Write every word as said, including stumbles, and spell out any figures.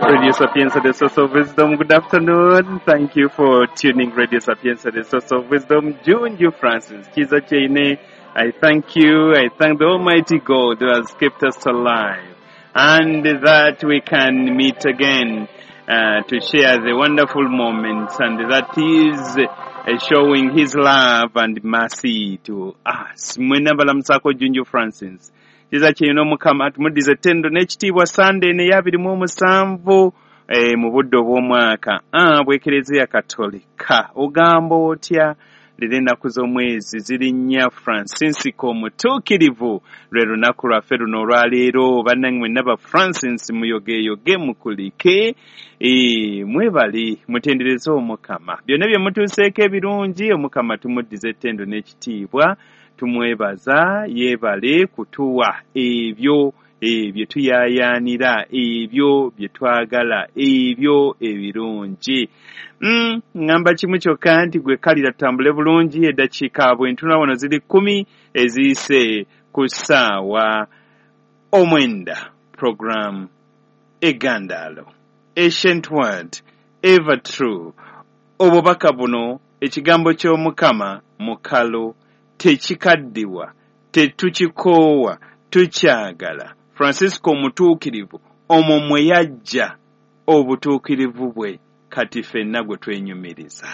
Radio Sapienza, the source of wisdom. Good afternoon. Thank you for tuning Radio Sapienza, the source of wisdom. Junju Francis Kiza Chaine, I thank you. I thank the Almighty God who has kept us alive and that we can meet again uh, to share the wonderful moments, and that is uh, showing His love and mercy to us. Mwena balamusaako Junju Francis Kiza Kyeyune. Omukama tumuddiza ettendo n'ekitiibwa. Sande eno ey'abiri mu omusanvu eh, mu budde obw'omwaka ah, bw'Ekereziya Katolika. Ogamba otya? Leero ennaku z'omwezi ziri nnya, Francisco Omutuukirivu lwe lunaku lwaffe luno olwaleero. Bannange mwenna ba Francis, muyogeeyoge, mukulike, e, mwebale mutendereze Omukama byonna bye mutuuseeko ebirungi. Omukama tumuddiza ettendo n'ekitiibwa, tumwebaza yeebale kutuwa ebyo ebyo tuyaayaanira, ebyo bye twagala, ebyo ebirungi. Mm, ŋŋamba kimu kyokka nti gwe kalira tutambule bulungi. Eddakiika bwe ntuna wano ziri kkumi eziyise ku ssaawa omwenda. Program Egandaalo, Ancient Word, Ever True. Obubaka buno, ekigambo ky'Omukama mukalo, tekikaddiwa, tetukikoowa, tukyagala. Francisco Omutuukirivu omwo mwe yajja obutuukirivu bwe, kati ffenna gwe twenyumiriza.